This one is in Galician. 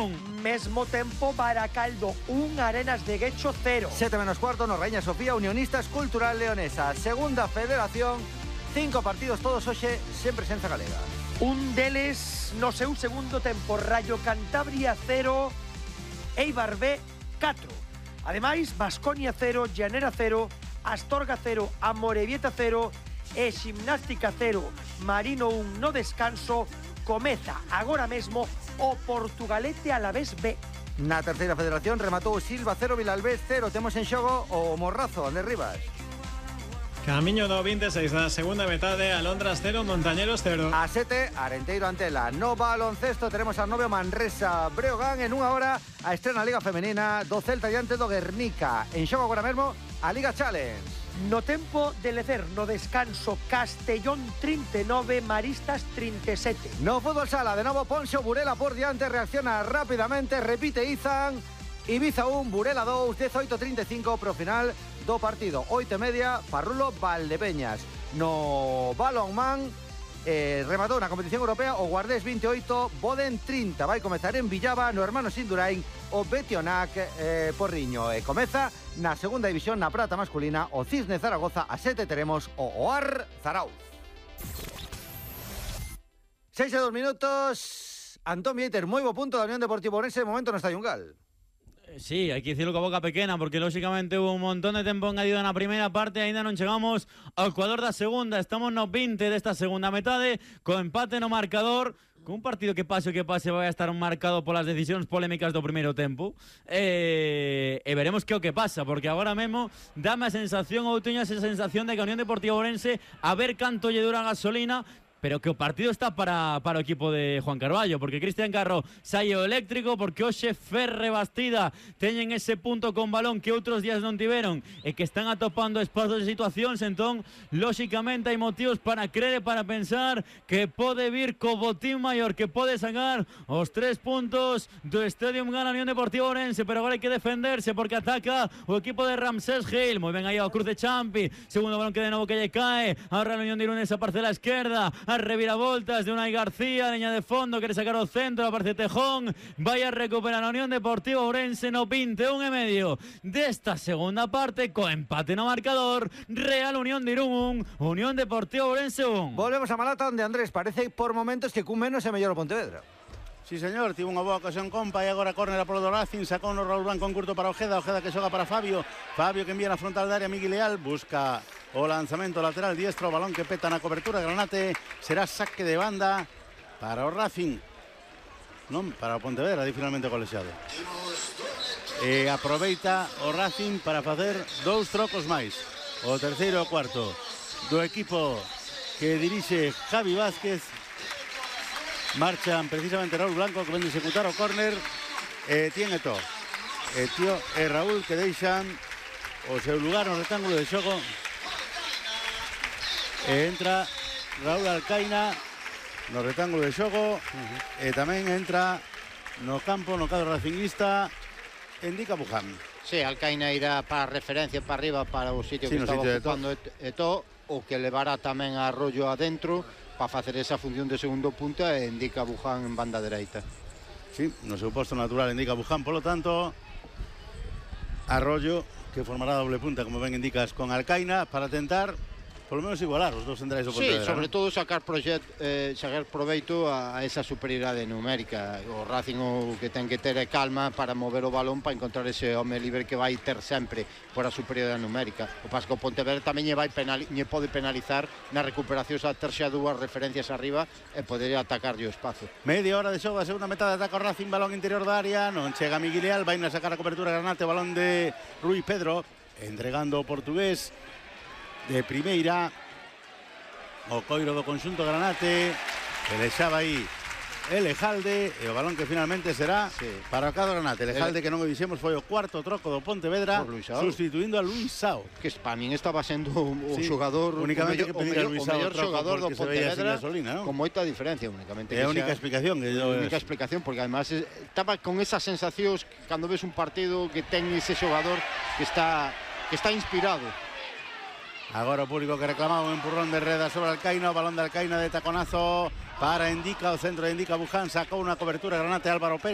1. Mesmo tempo Baracaldo 1, Arenas de Guecho 0. 7:15, no Reña Sofía, Unionistas Cultural Leonesa. Segunda Federación, 5 partidos todos hoxe sen presenza galega. Un deles no seu segundo tempo, Rayo Cantabria 0, Eibar B 4. Ademais, Baskonia 0, Llanera 0, Astorga 0, Amorebieta 0 e Ximnástica 0, Marino 1 no descanso. Comeza agora mesmo o Portugalete Alavés B. Na terceira federación rematou Silva 0, Vilalbés 0. Temos en xogo o Morrazo, Andrés Rivas. Camiño do 26 da segunda metade, Alondras 0, Montañeros 0. A 7, Arenteiro Antela. No baloncesto teremos a 9 Manresa Breogán. En unha hora a estrena Liga Femenina do Celta diante do Guernica. En xogo agora mesmo a Liga Challenge. No tempo de lecer, no descanso, Castellón 39, Maristas 37. No fútbol sala, de novo Ponxo, Burela por diante, reacciona rápidamente, repite Izan, Ibiza 1, Burela 2, 18:35 pro final do partido. 8:30, Parrulo Valdepeñas. No balonmán, rematou na competición europea o Guardés 28, Boden 30. Vai comezar en Villaba, no Hermanos Indurain, o Betionac Porriño. E comeza na segunda división, na prata masculina, o Cisne Zaragoza. A 7 teremos o OAR Zarauz. 6:02. Antón Vieiter, moi bo punto da Unión Deportiva Ourense, de momento no Estadio Ungal. Sí, hai que dicirlo con boca pequena porque lógicamente hubo un montón de tempo engadido na primeira parte, aínda non chegamos ao Ecuador da segunda, estamos no 20 desta segunda metade, co empate no marcador, con un partido que pase o que pase vai a estar marcado polas decisións polémicas do primeiro tempo, e veremos que o que pasa, porque agora mesmo dame a sensación, ou teño esa sensación de que a Unión Deportiva Ourense, a ver canto lle dura a gasolina, pero que o partido está para o equipo de Juan Carballo, porque Cristian Carro sae o eléctrico, porque hoxe Ferre Bastida teñen ese punto con balón que outros días non tiveron e que están atopando espazos de situacións, entón lóxicamente hai motivos para creer e para pensar que pode vir co botín maior, que pode sacar os 3 puntos do Estadio Gana Unión Deportiva Ourense, pero agora hai que defenderse porque ataca o equipo de Ramsés Gil, moi ben aí ao Cruz de Champi, segundo balón que de novo que lle cae a Real Unión de Irún esa parcela esquerda, a reviravoltas de Unai García, leña de fondo, quere sacar o centro, aparece Tejón, vai a recuperar a Unión Deportiva Ourense no 21:30 desta segunda parte, co empate no marcador, Real Unión de Irún 1, Unión Deportiva Ourense 1. Volvemos a Malata, onde Andrés parece por momentos que cun menos é mellor o Pontevedra. Sí, señor, tivo unha boa ocasión Compa e agora córner polo do Racing, sacou no Raúl Blanco en curto para Ojeda que xoga para Fabio que envía na frontal da área, Miguel Leal busca o lanzamento lateral diestro, balón que peta na cobertura, Granate, será saque de banda para o Racing, non para o Pontevedra, di finalmente o colexiado. E aproveita o Racing para facer 2 trocos máis, o terceiro e o cuarto do equipo que dirixe Javi Vázquez. Marchan precisamente Raúl Blanco que ven de executar o córner e tiene todo Tío e Raúl que deixan o seu lugar no rectángulo de xogo e entra Raúl Alcaina no rectángulo de xogo e tamén entra no campo, no cadro racinguista, Indica Buján. Sí, Alcaina irá para referencia para arriba para o sitio que estaba ocupando Eto, o que levará tamén a Arroyo adentro para facer esa función de segundo punta e Indica Buján en banda dereita. Sí, no seu posto natural Indica Buján, polo tanto Arroyo que formará doble punta, como ben indicas, con Alcaina para tentar polo menos igualar os dos centrais do Pontevedra. Sí, sobre todo sacar proveito a esa superioridade numérica. O Racing o que ten que ter é calma para mover o balón para encontrar ese home libre que vai ter sempre por a superioridade numérica. O pas que o Pontevedra tamén lle pode penalizar na recuperación a ter xa dúas referencias arriba e poder atacarlle o espazo. Media hora de xogo da segunda metade, ataca o Racing, balón interior da área, non chega Miguel Leal, vai a sacar a cobertura Granate, balón de Rui Pedro, entregando o portugués de primeira o coiro do conxunto Granate, que deixaba aí Elejalde e o balón que finalmente será para o cadro Granate. Elejalde que non o dixemos foi o cuarto troco do Pontevedra, sustituindo a Luis Sao, que para min estaba sendo o xogador únicamente que pedir a Luis Sao, o mellor xogador do Pontevedra, gasolina, ¿no? Con moita diferencia, únicamente. É a única explicación que porque además estaba con esas sensacións cando ves un partido que ten ese xogador que está inspirado. Agora o público que reclamaba un empurrón de Reda sobre Alcaina, o balón de Alcaina de taconazo para Indica, o centro de Indica Buján, sacou unha cobertura Granate Álvaro Pérez.